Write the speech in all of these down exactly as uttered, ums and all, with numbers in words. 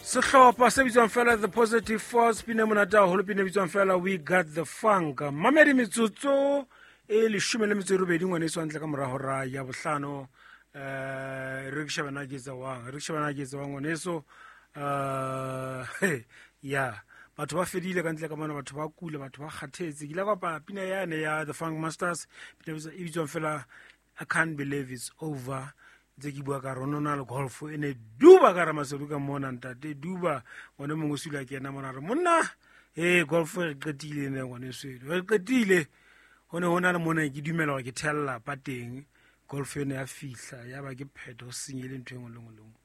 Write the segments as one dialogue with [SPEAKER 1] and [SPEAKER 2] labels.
[SPEAKER 1] Sehlopha se bitswang fela The Positive Force, pina e monate haholo, pina e bitswang fela We Got The Funk. Mamedi, metsotso e leshome le metso e robedi, ngwaneso, hantle ka mora hora ya bohlano. um re ke shebana ke etsa wang, re ke shebana ke etsa wang, ngwaneso. um ya batho ba fedile ka ntle ka mona, batho ba kula, batho ba kgathetse. Ke ile ka bapala pina yane ya The Funk Masters, pina e bitswang fela I Can't Believe It's Over. Ntse ke bua ka rona, na le golf e ne duba ka Ramasedi ka mona, ntate duba ngwane mongwe o sule a kena mona, re monna e golf re qetile ne, ngwaneso eno re qetile. Ho ne ho na le mona ke dumela hore ke thella pa teng, golf eno ya fihla, ya ba ke phetho, ho senyele ntho e nngwe le nngwe le nngwe.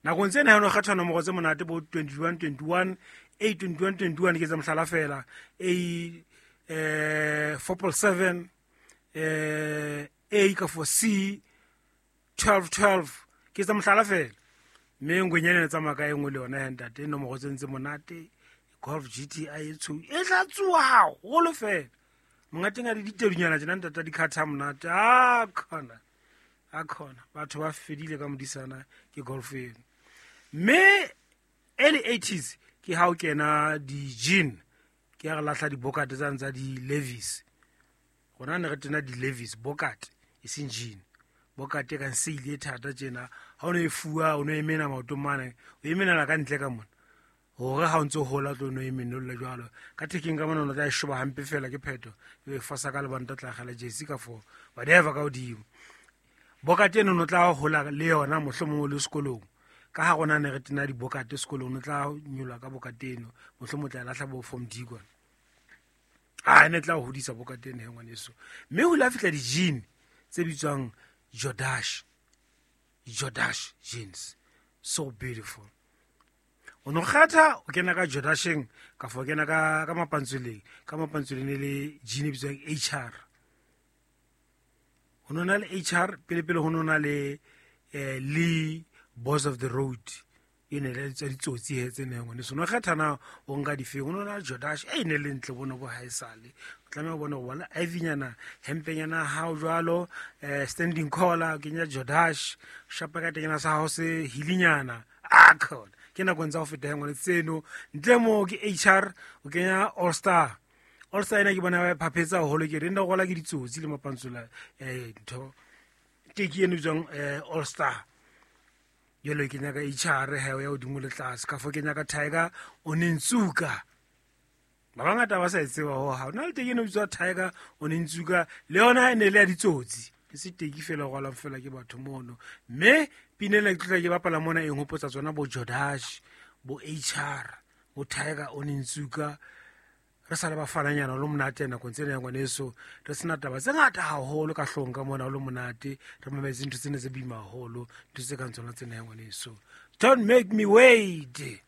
[SPEAKER 1] Nakong tsena ha no kgetha nomoro tse monate bo twenty-one twenty-one, A twenty-one twenty-one, ke tsa mohlala fela, A eh four point seven, eh A ka for C twelve twelve, ke tsa mohlala fela. Mme ngwenyana e tsamaya ka e nngwe le yona ya ntate, nomoro tse ntse monate, Golf G T I e tshweu e tla tsuwa haholo fela. Mongateng a di ditedunyana tjena, ntate, di khatha monate. A khona, a khona, batho ba fedile ka modisana ke golf eno. Mme early eighties ke ha o kena di-jean, ke ya re lahla dibokate tsane tsa di-Levi's. Rona ne re tena di-Levi's bokate, e seng jean. Bokate e kang seile e thata tjena, ha o no e fuwa, o no e mena maotong mane, o e menela ka ntle ka mona, hore ha o ntso hola tlo no e menolla jwalo ka thekeng ka mona, o tla e shoba hampe fela, ke phetho e e fosa ka lebanta, tla akgela jersey ka for whatever ka hodimo. Bokate eno no tla hola le yona, mohlomong o le sekolong, ka ha rona ne re tena dibokate sekolong, o tla nyolwa ka bokate eno, mohlomong o tla e lahla bo form D kwana. A ne tla o hodisa bokate eno he, ngwaneso. Mme ho ile ha fihla di-jean tse bitswang Jordache, Jordache jeans, so beautiful. O no kgatha o kena ka Jordasheng, ka fo kena ka ka mapantsweleng, ka mapantsweleng e le jean e bitswang H R. Ho no na le H R pele, pele ho no na le eh Lee Boys of the Road, e ne le tsa ditsotsi he tse neng, ngwaneso. No kgetha na o nka difeng. Ho no na Jordache e ne le ntle bona bo haesale, o tlameha ho bona ho bona ivynyana hempenyana hao jwalo, eh standing collar, o kenya Jordache, shapa ka tenyana sa hao se hilinyana. A khona ke nakong tsa ho feta he, ngwane, tseno. Ntle mo ke H R, o kenya All Star. All Star ena ke bona ba e phaphetsa haholo, ke re nna gola ke ditsotsi le mapantsola, eh ntho teki eno bitswang eh All Star. Jwale ke nyaka H R he ya hodimo le tlase, ka fo ke nyaka Tiger Onitsuka. Ba bangata ba sa e tseba ho ha na le teki eno bitswa Tiger Onitsuka, le yona e ne le ya ditsotsi, e se teki fela go rwalwang fela ke batho mono. Mme pina ena ke tlotla ke bapala mona e nhopotsa tsona bo Jordache, bo H R, bo Tiger Onitsuka. Re sa le bafananyana o le monate nakong tsena ya ngwaneso, re sena taba tse ngata haholo ka hloohong ka mona, o le monate, re mametse ntho tsena tse boima haholo, ntho tse kang tsona tsena ya ngwaneso. Don't make me wait.